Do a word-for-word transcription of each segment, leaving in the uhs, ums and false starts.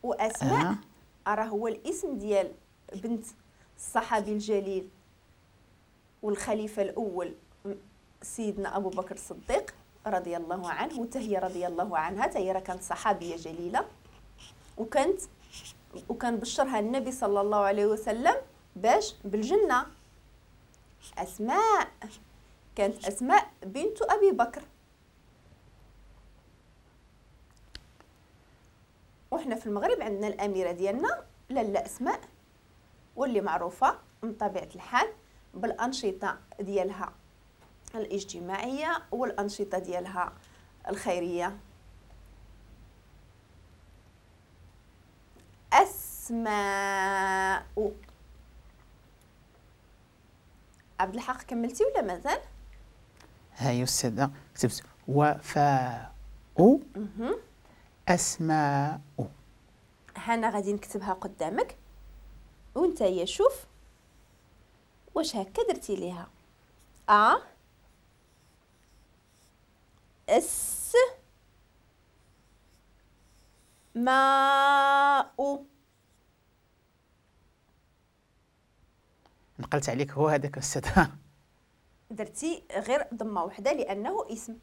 واسماء آه. راه هو الاسم ديال بنت الصحابي الجليل والخليفة الاول سيدنا ابو بكر الصديق رضي الله عنه، وحتى هي رضي الله عنها، حتى هي راه كانت صحابية جليلة، وكانت وكان بشرها النبي صلى الله عليه وسلم باش بالجنة. اسماء كانت اسماء بنت ابي بكر. وحنا في المغرب عندنا الاميرة ديالنا لاله اسماء، واللي معروفة من طبيعة الحال بالانشطه ديالها الاجتماعية والانشطه ديالها الخيرية. اسماء. عبد الحق كملتي ولا مازال؟ هاي استاذه كتبت وفاء اسماء. هانا غادي نكتبها قدامك وانت يا شوف واش هكا درتي ليها. ا اس ما او. نقلت عليك هو هذاك استاذ. درتي غير ضمه وحده لانه اسم.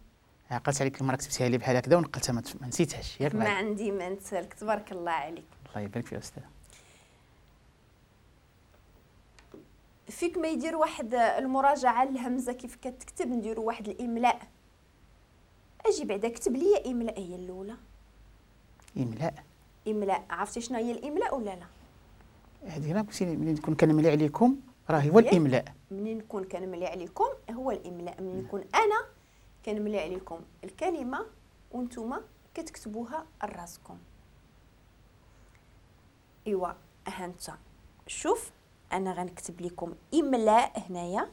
عقلت عليك المرة كتبتيها لي بحال هكذا ونقلتها ما نسيتهاش ياك؟ ما عندي ما نسالك، تبارك الله عليك. الله يبارك فيك استاذ. فيك ما يدير واحد المراجعة للهمزه كيف كتكتب، نديروا واحد الاملاء. اجي بعدا كتب لي املاء هي الاولى. املاء املاء، عرفتي شنو هي الاملاء ولا لا؟ هذه راه قلتي ملي نكون كنملي عليكم راه هو الاملاء. منين نكون كنملي عليكم هو الاملاء، منين نكون انا كنملي عليكم الكلمة وانتم كتكتبوها لراسكم. ايوا ها انت شوف، انا غنكتب لكم املاء هنايا.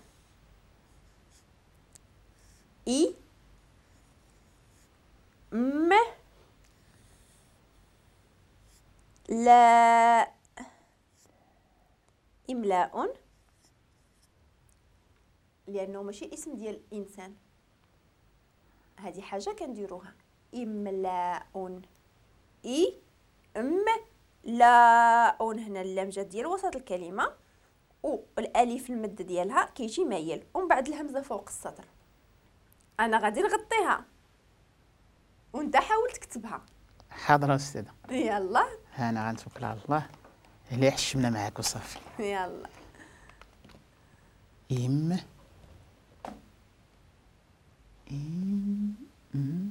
اي م لا، املاء، لانه ماشي اسم ديال الانسان، هذه حاجة كنديروها. املاء، اي م لا، هنا اللام جات ديال وسط الكلمة والالف المد ديالها كيجي مايل، ومن بعد الهمزة فوق السطر. انا غادي نغطيها وانت حاول تكتبها. حاضره استاذه. يلا ها انا غنتوكل على الله، اللي حشمنا معاك وصافي. يلا. إم إم م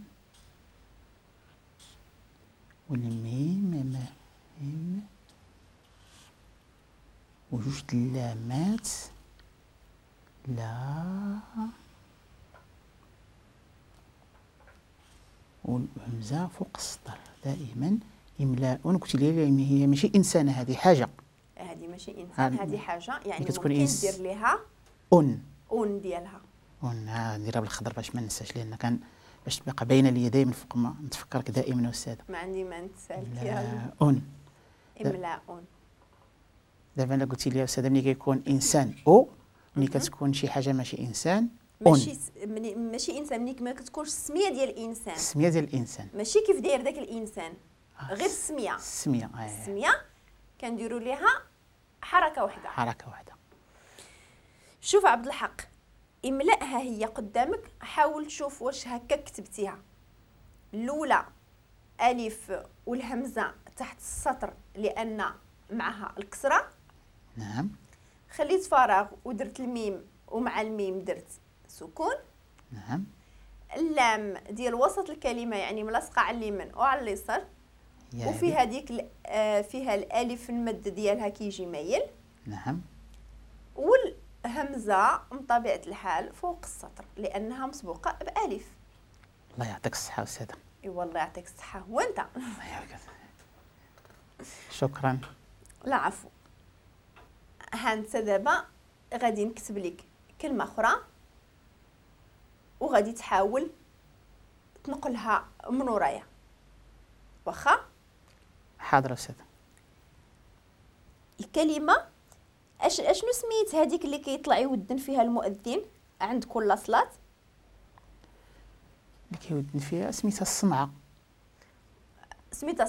والميم م إم وجوج اللامات لا والهمزة فوق السطر دائما. إملاء. قلت لي هي ماشي إنسانة، هذه حاجة. هذه ماشي إنسان، هذه حاجة، يعني ممكن دير ليها أون أون ديالها. أون نديرها بالخضر باش ما ننساش، لأن كان باش تبقى باينة لي دائما فوق ما نتفكرك دائما أستاذة. ما عندي ما نتسالك. يلا أون إملاء. دابا الا قلتي لي أستاذة ملي كيكون إنسان أو ملي كتكون شي حاجة ماشي إنسان ماشي مني ماشي انسان، ملي ما كتكونش السمية ديال الانسان. السمية ديال الانسان ماشي كيف داير داك الانسان، آه غير السمية. السمية آه. السمية كنديروا ليها حركة واحدة. حركة واحدة. شوف عبد الحق، املأها هي قدامك، حاول تشوف واش هكا كتبتيها. الاولى الف والهمزة تحت السطر لان معها الكسرة. نعم. خليت فراغ ودرت الميم، ومع الميم درت سكون. نعم. اللام ديال وسط الكلمة يعني ملاصقه على اليمين وعلى اليسار، وفي هذيك فيها الالف المد ديالها كيجي مايل. نعم. والهمزة من طبيعة الحال فوق السطر لانها مسبوقة بالف. الله يعطيك الصحة استاذه. اي والله يعطيك الصحة. وانت الله يعطيك. شكرا. لا عفو. ها انت دابا غادي نكتب لك كلمة اخرى وغادي تحاول تنقلها من ورايا، واخا؟ حاضر استاذه. الكلمة اش اشنو سميت هذيك اللي كيطلع يودن فيها المؤذن عند كل صلاة؟ اللي كيودن فيها سميتها الصمعه. سميتها